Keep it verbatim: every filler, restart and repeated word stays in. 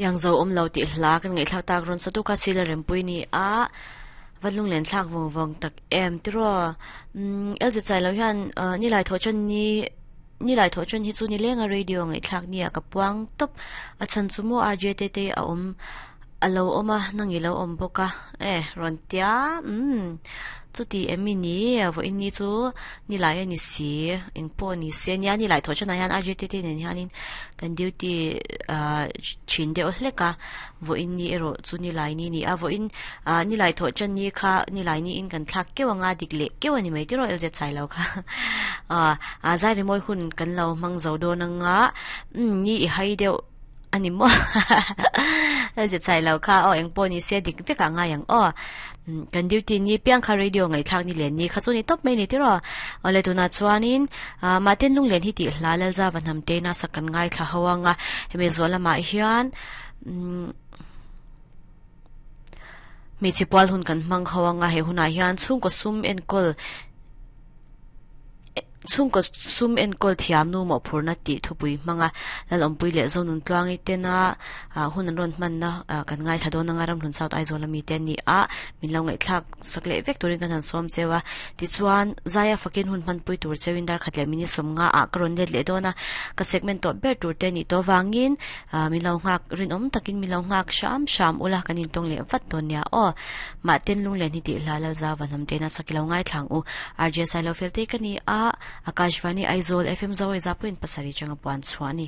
Yang zo om lo ti hla kan ngai thlak tak ron satu ka sila rempui ni a valung len thlak vong vong tak em tiro um elje chai lo hian ni lai tho chen ni ni lai tho chen hi chu ni lenga radio ngai thlak ni a ka puang top a chan chu mo rj te te a om alo oma nangi lo om boka e ron tia um chu ti emi ni vo in ni chu ni lai ani si eng po ni se nia ni lai tho chen hian rj te te nen hianin kan duty a chin de hleka vo in ni ero chu ni lai ni ni a vo in ni lai tho chen ni kha ni lai ni in kan thlak kewanga dik le kewani mai ti ro lj chai lo kha a a zai ri moi hun kan lo mang zo do na nga ni i hai deuh ani mo lj chai lo kha o eng po ni se dik veka nga yang o kan duty ni piang kha radio ngai thlak ni len ni kha chu ni top mai ni ti ro ole tuna chuanin maten lung len hi ti hla lal za van ham te na sakan ngai thla hawanga hemi zola ma hian mi chipwal hun kan mang hawanga he huna hian chung ko sum en kol chung ko sum en kol thiam nu mo phurna ti thupui manga lal ompui le zonun tluangi tena hun an ron man na kan ngai thadon nga ram hlun south aizawl ami te ni a min lo ngai thlak sakle vek turin kan han som chewa ti chuan zaya fakin hun man pui tur chewin dar khatle mini som nga a karon let le dona ka segment to ber tur te ni to wangin min lo ngak rin om takin min lo ngak sham sham ula kanin tong le vat ton nia o ma ten lung le ni ti la lal za vanam te na sakilo ngai thlang u rj silo fel te kani a Akashvani Aizawl F M zawai zapuin pasari changa puan chuani.